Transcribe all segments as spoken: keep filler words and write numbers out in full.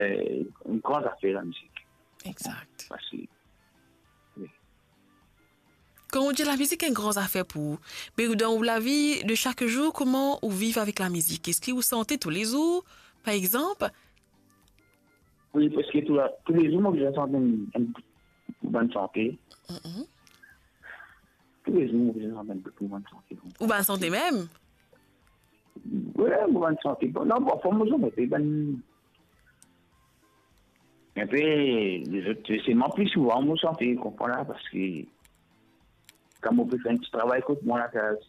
eh, enn gran zafer, lamizik. Exact. Parski, wi. Kan ou dir lamizik enn gran zafer pou ou, me dan ou lavi de sak zour, kouma ou viv avek lamizik? Eski ou sante toulezour, par exanp? Wi, parski tou la, toulezour mo bizin sante enn, enn bout pou bann sante. Mhm. Toulezour mo bizin sante enn bout pou bann sante. Ou bann sante mem? Wi, mo bann sante. Bon, non, bon, fo mo zame pe bann, enpe, lezot, selman pli souvan mo sante, konpran la, parski kan mo pe fer enn ti travay kot mwa lakaz,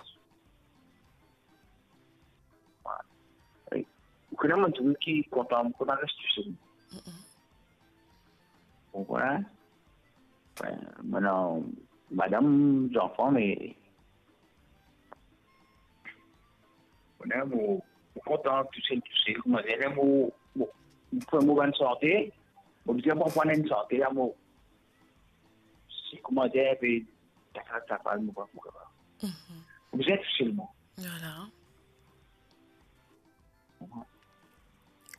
wi. Ou kone, mo dimoun ki kontan, mo kontan res tousel. Mm-mm. Ou konpran? Wi, mo ena madam, zanfan, me, ou kone, mo, mo kontan tousel, tousel. Kouma dir, mo, mo, mo fer mo bann sante, mo bizin konpran enn sante la, mo, si, kouma dir, enpe, tafal, tafal, mo pa pou kapav. Mhm. Mo bizin tousel mwa. Vwala.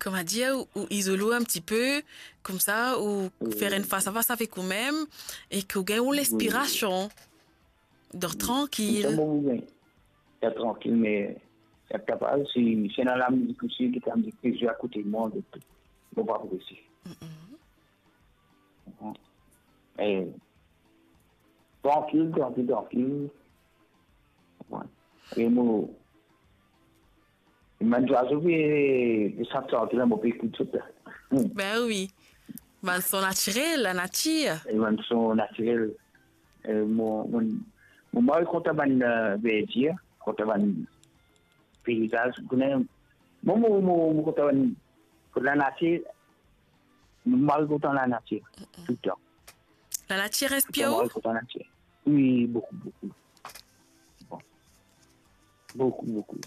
Kouma dir, ou, ou izol ou enn ti pe, koumsa, ou, wi, fer enn fas a fas avek ou mem, e ki ou gagn ou, wi, linspirasion. Dor, wi, trankil. Koumsa, mo, wi, dor trankil, me, si kapav, si, si ena lamizik osi, ki lamizik ki zwe akote mwa, mo pa pou resi. Mm-mm. Mhm. E, trankil, trankil, trankil. Wi. E mo, bann zwazo pe, pe sant trankil la, mo pe ekout zot la. Hmm. Ben wi. Bann son natirel, lanatir. E bann son natirel. E mo, mo, mo mari kontan bann, eh, verdir, kontan bann peizaz, ou kone, mo, mo, mo, mo kontan bann, kot lanatir, mo mari kontan lanatir, mm-mm, toultan. Lanatir inspir ou? Mo mari kontan lanatir. Wi, boukou, boukou. Bon. Boukou, boukou.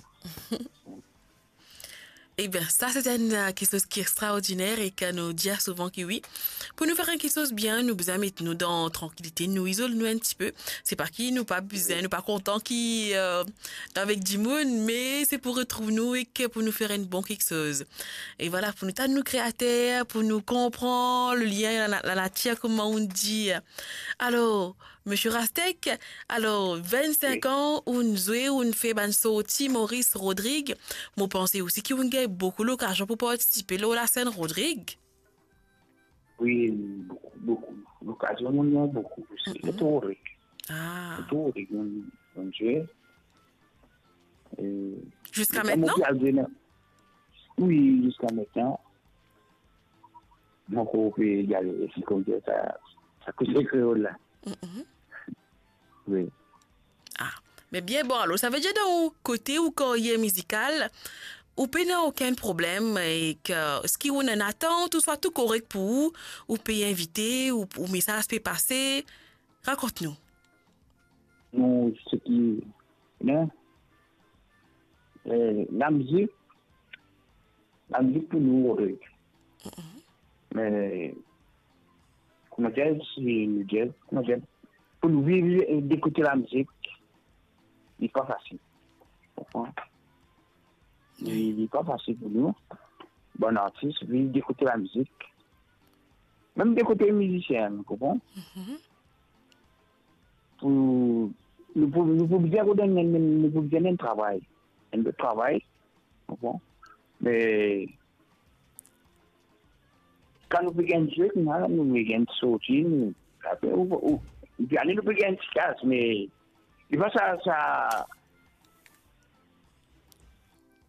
Eben, sa se enn, eh, kiksoz ki extraordiner e ki nou dir souvan ki wi, pou nou fer enn kiksoz bien, nou bizin met nou dan trankilite, nou izol nou enn ti pe. Se pa ki nou pa bizin, wi, nou pa kontan ki, eh, avek dimoun, me se pou retrouv nou e ki pou nou fer enn bon kiksoz. E vwala, pou nou tann nou Kreater, pou nou konpran le lien la, lanatir, kouma ou dir. Alor, Misie Rastek, alor, vennsenk, wi, an, ou'nn zwe, ou'nn fer bann sorti Maurice Rodrigue. Mo panse osi ki ou'nn gagn boukou lokazion pou partisipe lor lasenn Rodrigue. Wi, boukou, boukou. Lokazion, mo gagn boukou osi. Mm-mm. Tou Rodrigue. Ah. Tou Rodrigue, mo, mo zwe. E, ziska mintnan? Wi, ziska mintnan. Mo ankor pe gade, si koumsa sa, sa koze kreol la. Mm-mm. Wi. Ah, me bien bon, alor, savedir dan ou kote ou karyer mizikal, ou pena okenn problem, e ki, eski ou ena enn atant, ouswa tou korek pou ou, ou pe invite, ou, ou mesaz pe pase? Rakont nou. Nou, seki, non, eh, lamizik, lamizik pou nou, Rodrigue. Mm-mm. Me, kouma dir, si nou dir, kouma dir, pou nou viv, eh, de kote lamizik, li pa fasil. Konpran? Li, li pa fasil pou nou, bann artis, viv de kote lamizik. Mem de kote mizisien, ou konpran? Mhm. Pou, nou pou, nou pou bizin rod enn, enn, nou pou bizin enn travay. Enn lot travay, ou konpran? Me, kan nou pe gagn zwe, nou, nou pe gagn sorti, nou, apre, ou, ou, ou, nou pe gagn ti kas, me, li pa sa, sa,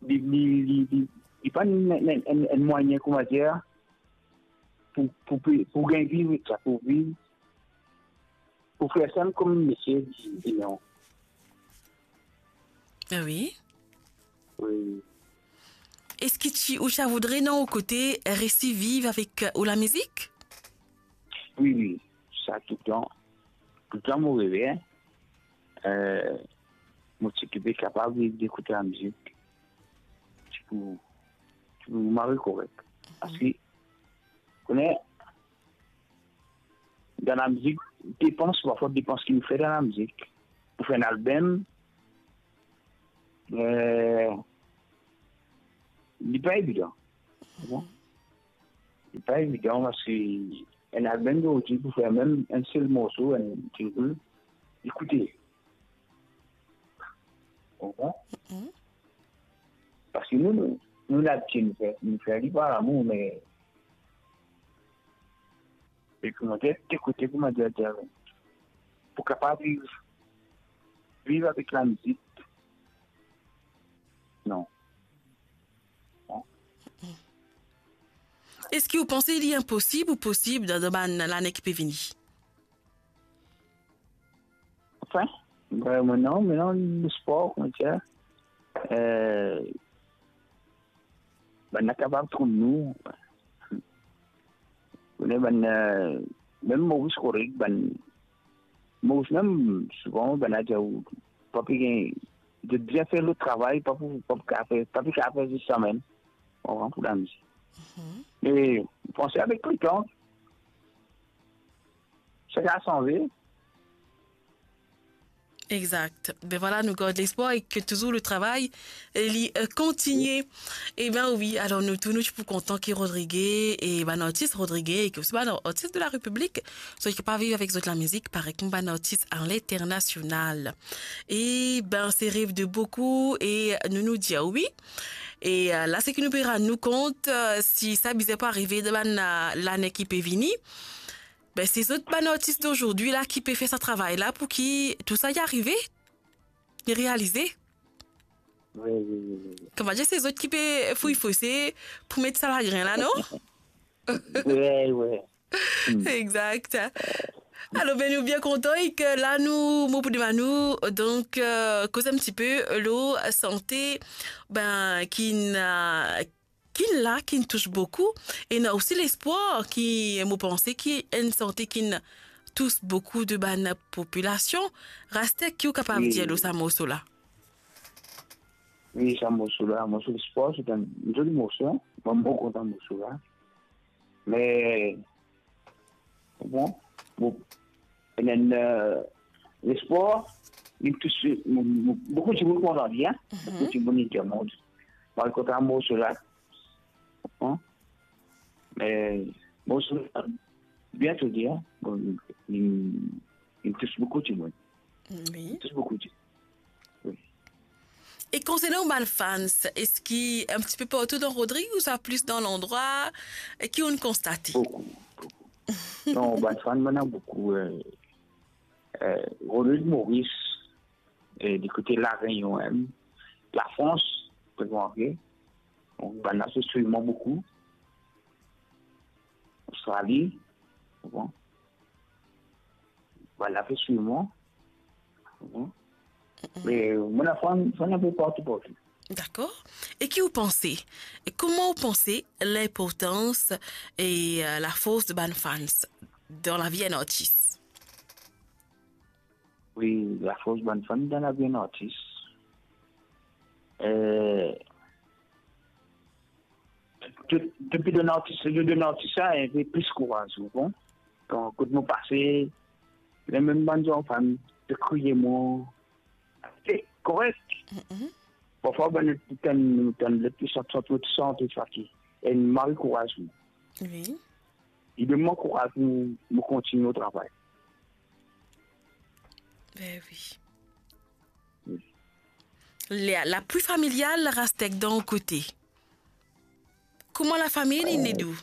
li, li, li, li, li pa enn, enn, enn, enn mwayin, kouma dir, pou, pou, pou, pou gagn viv ek sa, pou viv, pou fer sa kom metie, di, di non. Ah wi? Wi. Eski ti, ou ti a voudre, dan ou kote, resi viv avek, euh, ou lamizik? Wi, wi. Sa toultan. Toultan mo reve, hein. Euh, mo ti pe kapav viv de kote lamizik. Ti pou, ti pou mari korek. Mhm. Parski, kone, dan lamizik, depans, parfwa depans ki nou fer dan lamizik. Pou fer enn album, euh, li pa evidan. Bon. pa evidan, parski enn album zordi pou fer mem enn sel morso, enn single, li koute. Ou konpran? Mhm. Parski nou, nou, nou labitid nou fer, nou fer li par lamour, me, e kouma dir, ekoute, kouma dir, dir, pou kapav viv, viv avek lamizik, non. Non. Eski ou panse li inposib ou posib dan, dan bann lane ki pe vini? Anfin, ben, mwa, non, me non, lespwar, kouma dir, eh, bann la kapav trouv nou. Ou kone bann, eh, mem Moris Rodrig, bann Moris mem, souvan, bann la dir, ou pa pe gagn, zot bizin fer lot travay, pa pou, pa pou kapav fer, pa pou kapav fer zis samem. Ou konpran, pou lamizik. Mhm. Me, panse avek letan, sa va sanze. Exact. Ben voilà, nou gard lespwar e ke touzour le travay, eh, li, eh, kontigne. E ben wi, alor nou tou, nou ti pou kontan ki Rodrige e bann artis Rodrige e ki osi bann artis de la Repiblik, zot kapav viv avek zot lamizik, parey kouma bann artis a linternasional. E ben, se rev de boukou e nou, nou dir wi. E, eh, la, se ki nou pe rann nou kont, eh, si sa bizin pou arive dan bann, eh, lane ki pe vini. Ben, se zot bann artis dozordi la ki pe fer sa travay la pou ki tou sa i arive, i realize. Wi, wi, wi, wi, wi. Kouma dir, se zot ki pe fouy fose pou met sa lagrin la, non? Wi, wi. Hmm. Exact. Alor, ben, nou bien kontan e ke la nou, mo pou demann ou, donk, eh, koz enn tipe lor sante, ben, ki ena, ki la, ki tous boukou, e ena osi lespwar ki, mo panse, ki enn sante ki tous boukou de bann popilasion. Rastek, ki ou kapav dir lor sa morso la? Wi, sa morso la, morso lespwar, se enn zoli morso, mwa, mo kontan morso la. Me, bon, bon, ena, eh, lespwar, li tous, mo, mo, boukou dimoun kontan li, hein. Mhm. Boukou dimoun, li dir, mwa, mwa kontan morso la. Hein? Me, bon, sa, bien tou dir, hein? Bon, li, li tous boukou dimoun. Wi. Li tous boukou dimoun. Wi. E konsernan ou bann fans, eski enn tipe partou dan Rodrig ouswa plis dan landrwa, e ki ou'nn konstate? Boukou, boukou. Non, bann fan, mo ena boukou, eh, eh, Rodrig Moris, e di kote La Réunion mem, Lafrans, pe remarke. Donk, bann la pe swiv mwa boukou. Ostrali, bon. Bann la pe swiv mwa. Bon. Mm-mm. Me mo ena fan, fan inpe partou, partou. Dakor. E ki ou panse? E kouma ou panse linportans e, eh, lafors de bann fans dan lavi enn artis? Wi, lafors bann fan dan lavi enn artis. Eh, to, to pe donn artis, to donn artis la enn pe plis kouraz, ou konpran? Kan, kot mo pase, lemem bann zanfan, to kriye mwa, se korek. Mm-mm. Parfwa, bann lot tann, tann lot pe sant, sant, mo ti sante sa ki enn mari kouraz mwa. Wi. Li donn mwa kouraz pou mo kontigne travay. Be wi. Wi. La, lapui familial, Rastek, dan ou kote. Kouma lafami, li, eh, inn ed ou?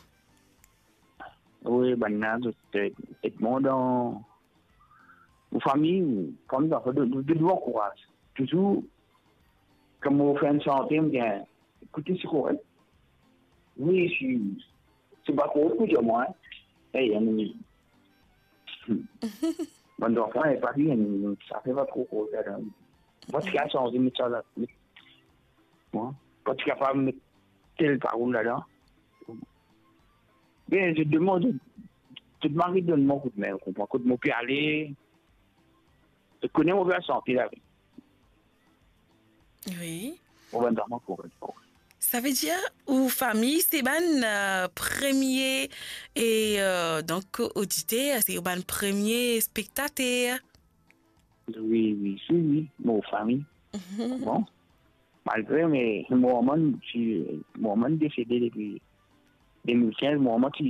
Wi, bann la, zot, eh, ed mwa dan mo fami, fami, dan, de, de, de bon kouraz. Touzour, kan mo fer enn sante, mo dir, ekoute, se korek. Wi, si, se pa korek pou dir mwa, hein. Ey, anou, bann zanfan, e pa bien, sa fer pa tro korek ladan. Mwa, ti kapav sanze, met sa la, met, mwa, mwa ti kapav met tel parol ladan. Bien, zot demann, zot, zot mari donn mwa koudme, ou konpran, kot mo pe ale, zot kone mo pe al sante lavi. Wi. Ou bann zanfan pou, pou. Savedir, ou fami, se bann, eh, premie, e, eh, donk, oditer, se ou bann premie spektater. Wi, wi, si, wi, mo fami. Mhm. Bon. Malgre, me mo manman ti, mo manman desede depi de mil kinz, mo manman ti,